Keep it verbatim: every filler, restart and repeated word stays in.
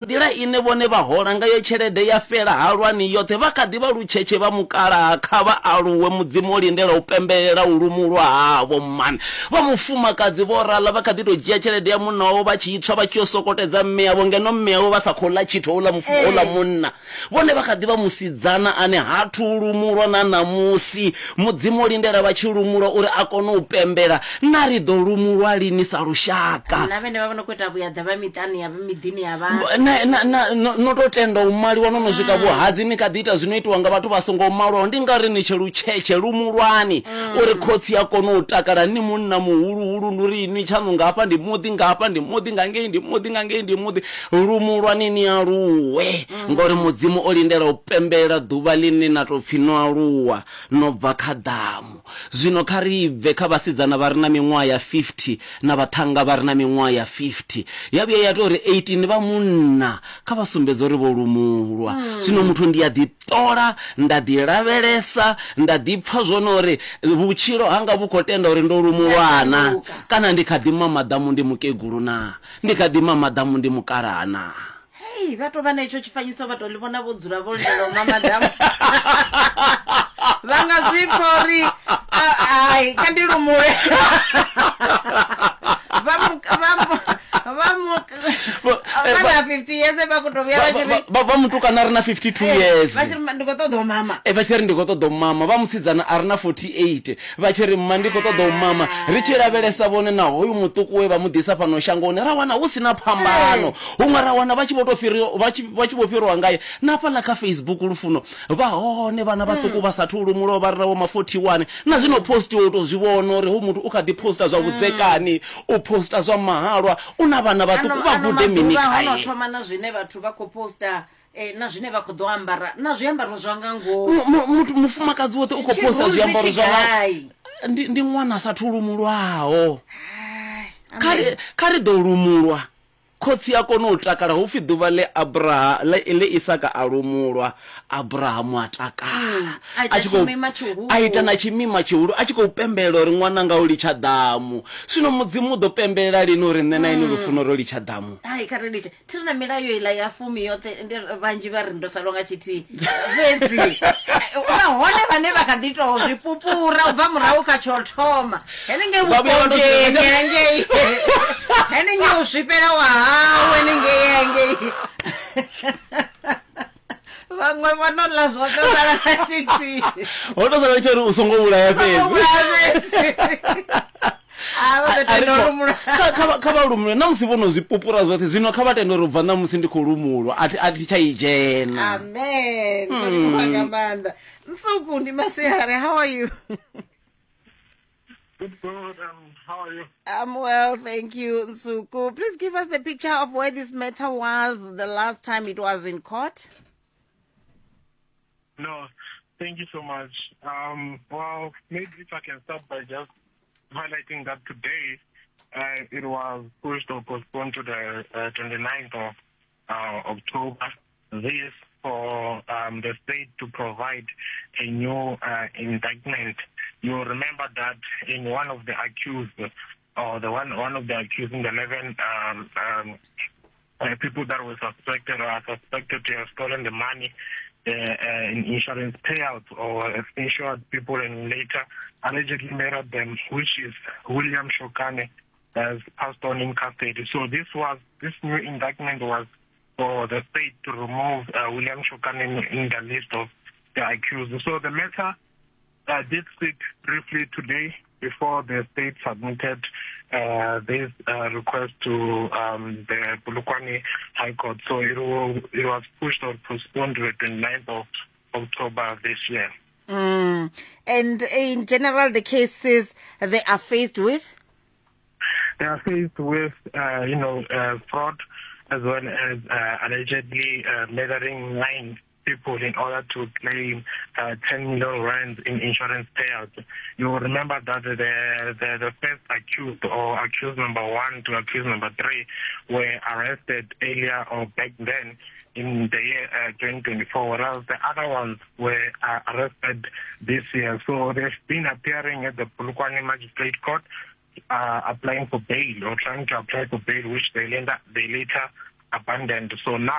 Nḓila ine vhone vha hola ngayo tshelede ya fhela halwani yoṱhe vha kha ḓi vha lutshetshe vha mukalaha kha vha aluwe Mudzimu o lindela u pembelela u lumulwa havho mani. Vha mufumakadzi vho raḽa vha kha ḓi tou dzhia tshelede ya munna wavho vha tshi i tswa vha tshi yo sokotedza mme avho ngeno mme avho vha sa khou ḽa tshithu houḽa mufu houḽa munna. Vhone vha kha ḓi vha musidzana ane ha thu lumulwa na ṋamusi. Mudzimu o lindela vha tshi lumulwa uri a kone u pembela. Na ri ḓo lumulwa lini sa lushaka? Na vhene vha vha no khou ita vhuyaḓa vha miṱani ya miḓini ya vhathu. Na, na, na, no, no tou tenda u maliwa no no swika vhuhadzi ni kha ḓi ita zwino itiwa nga vhathu vha songo malwaho. Ndi nga ri ni tshe lutshetshe lumulwani uri khotsi a kone u takala. Ni munna muhuluhulu, ndi uri inwi tshaṋu nga hafha ndi muḓi, nga hafha ndi muḓi, nga ngei ndi muḓi, nga ngei ndi muḓi. Lumulwani ni aluwe, ngori Mudzimu o lindela u pembela ḓuvha ḽine na tou pfhi no aluwa, no bva kha ḓamu. Zwino kha ri bve kha vhasidzana vha re na miṅwaha ya fifty na vhaṱhannga vha re na miṅwaha ya fifty. Ya vhuya ya tou ri eighteen vha munna, kha vha sumbedze uri vho lumulwa. Zwino muthu ndi a ḓi ṱola, nda ḓi lavhelesa, nda ḓi pfa zwone uri vhutshilo hanga vhu khou tenda uri ndo lumulwa na, kana ndi kha ḓi mamaḓamu ndi mukegulu na, ndi kha ḓi mamaḓamu ndi mukalaha na. Hei, vha tou vha na itsho tshifanyiso vha tou ḽi vhona vho dzula vho lindela u mamaḓamu. Vha nga zwi pfa uri hai kha ndi lumule. Vha mu vha mu vha mu vha na fifty years vha khou tou vhuya vha tshi ri Vha vha mutukana a re na fifty two years vha tshi ri ndi khou ṱoḓa u mama. E vha tshi ri ndi khou ṱoḓa u mama. Vha musidzana a re na forty eight vha tshi ri mma ndi khou ṱoḓa u mama. Ri tshi lavhelesa vhone na hoyu muṱuku we vha mu ḓisa fhano shangoni ra wana hu si na phambano. Huṅwe ra wana vha tshi vho tou fhiriwa vha tshi vha tshi vho fhiriwa ngae. Na hafhaḽa kha Facebook Lufuno vha hone vhana vhaṱuku vha sathu lumulwaho vha re na vho ma forty one. Na zwino post u tou zwi vhona uri hoyu muthu u kha ḓi posta zwa vhudzekani, u posta zwa mahalwa, u na vhana vhaṱuku vha Ano gude mini maḓuvha ho no khae. thoma na zwine vhathu vha khou posta eh, na zwine vha khou ḓo ambara na zwiambaro zwa nga ngomu. Mu- muthu mufumakadzi woṱhe u khou posta Tshirunzi zwiambaro zwa nga tshigai. ndi ndi ṅwana a sathu lumulwaho. Kha ri Amen. kha ri ḓo lumulwa khotsi a kone u takala. Hu pfi ḓuvha ḽe Abraha ḽe ḽe Isaka a lumulwa, Abrahamu a takala A ita a tshi khou tshimima tshihulu. a ita na tshimima tshihulu a tshi khou pembelela uri ṅwananga o litsha ḓamu. Zwino Mudzimu u ḓo pembelela lini uri nṋe na inwi Lufuno ro litsha ḓamu? Hai, kha ri litshe. Thi ri na milayo iḽa ya fumi yoṱhe, ndi vhanzhi vha ri ndo salwa nga tshithihi. Fhedzi vha hone vhane vha kha ḓi tou zwi pupura u bva murahu kha tsho thoma. Henengei Vha vhuya vha tou vhukondeni swika hangei. Henengei u swifhela wa hau henengei hangei. Vhaṅwe vho no ḽa zwoṱhe u sala nga tshithihi. Ho tou sala tsho uri u songo vhulaya Songo fhedzi. vhulaya fhedzi. A vha ḓo A ri tenda u kho- lumulwa. kha kha vha- kha vha lumulwe na musi vho no zwi pupura zwoṱhe. Zwino kha vha tende uri u bva ṋamusi ndi khou lumulwa, a thi a thi tsha i dzhena. Amen. Ndo livhuwa nga maanḓa. Nsuku ndi masiari, how are you? Good, good. Um, how are you? I'm well, thank you, Nsuku. Please give us the picture of where this matter was the last time it was in court. No, thank you so much. Um, well, maybe if I can start by just highlighting that today uh, it was pushed or postponed to the uh, twenty-ninth of uh, October. This for um, the state to provide a new uh, indictment. You remember that in one of the accused, or the one one of the accused in the eleven um, um, uh, people that were suspected or are suspected to have stolen the money uh, uh, in insurance payouts or insured people and later allegedly murdered them, which is William Shokane, has passed on in custody. So this was this new indictment was for the state to remove uh, William Shokane in, in the list of the accused. So the matter uh, did sit briefly today before the state submitted uh, this uh, request to um, the Polokwane High Court. So it, will, it was pushed or postponed to the twenty-ninth of October this year. Mm. And in general, the cases they are faced with? They are faced with, uh, you know, uh, fraud as well as uh, allegedly uh, murdering nine people in order to claim uh, ten million rands in insurance payouts. You will remember that the, the, the first accused, or accused number one to accused number three, were arrested earlier or back then in the year uh, twenty twenty-four, whereas the other ones were uh, arrested this year. So they've been appearing at the Polokwane Magistrate Court, uh, applying for bail or trying to apply for bail, which they later, they later abandoned. So now